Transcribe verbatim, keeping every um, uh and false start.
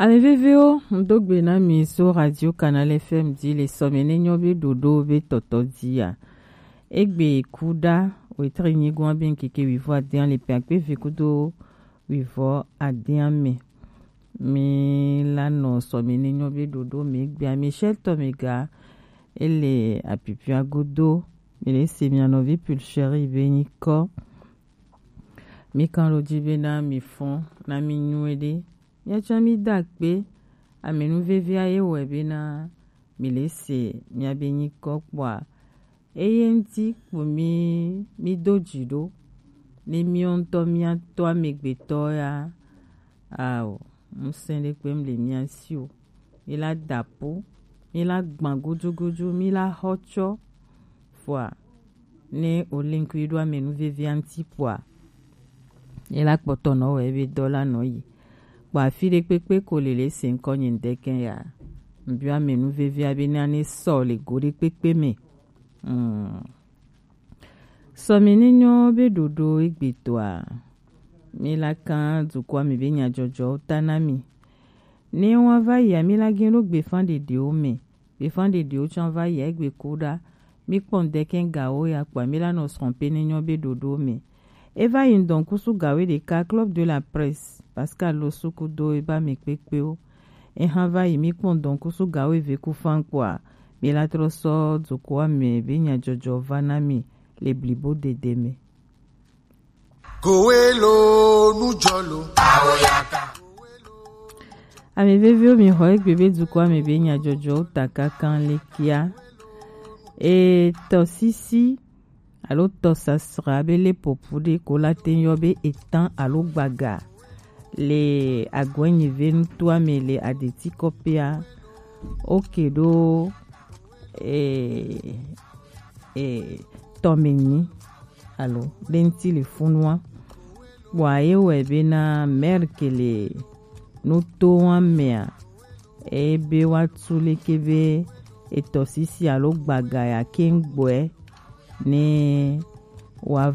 Ame veviwo, ŋdo gbe na mi so Radio Canal F M di le sɔme ne nyɔ be ɖoɖo be tɔtɔ dia. Egbe kuda wetri nyigoa be ŋkeke wivɔ adia le pe akpe ve kudo wivɔ adia me. Mi la nɔ sɔme ne nyɔ be ɖoɖo me gbea mi shɛtɔ me ga ele apipia godo. Mi le se mia nɔvi Pulchérie be nyikɔ. Mi kan ɖo ji be na mi fɔn na mi nyuie ɖe. Miatsɔ mi da akpe ame nu vevia ye wɔe bena mi le se miabe nyikɔ kpɔa. Eye ŋuti kpo mi mi do dzi ɖo. Ne miɔ ŋutɔ miatɔ amegbetɔ ya, ao, ŋusẽ ɖe kpe mle mia si o. Mi la da po, mi la gbã gudugudu, mi la xɔ tsɔ. Fua ne o link yi ɖo ame nu vevia ŋuti kpɔa, ye la kpɔtɔ nɔ wɔ ebe dɔ la nɔ yi. Kpɔ afi ɖe kpekpe ko le le se ŋkɔ nye ŋdɛkɛ ya. Ŋbiɔ ame nu vevia be na ne sɔ le go ɖe kpekpe me. Mm. Sɔmi ne nyɔ be ɖoɖo egbetɔa, mi la kan dukɔa me be nyadzɔdzɔwo ta na mi. Ne wa va yia, mi la gen ɖo gbefan ɖeɖewo me. Gbefan ɖeɖewo tsã va yia egbe kuɖa. Mi kpɔ ŋdɛkɛ gawo ya kpɔa, mi la nɔ srɔ̃ pe ne nyɔ be ɖoɖo me. E va yi ŋdɔ ŋkusu gawo ɖeka, Club de la Presse, Pascal Losuku do e ba mi kpekpewo. E hã va yi mi kpɔ ŋdɔ ŋkusu gawo eve ku fan kpɔa, mi la trɔ sɔ dukɔa me be nyadzɔdzɔ va na mi le blibo dede me. Kowe lo nujɔ lo. Awoyaka. Ame veviwo mi xɔ egbe be dukɔa me be nyadzɔdzɔwo ta kankan le kia. E tɔsisi alo tɔsasra be le popu ɖe ko la te yɔ be etan alo gbaga le agɔnyi ve nutoa me le adeti kɔpea. Oke ɖo e e tɔme nyi alo ɖe ŋuti le funua. Kpɔa ye wɔe bena Merke le nutoa mea, ebe woatu leke be etɔsisi alo gbaga ya keŋ gbɔe ne woava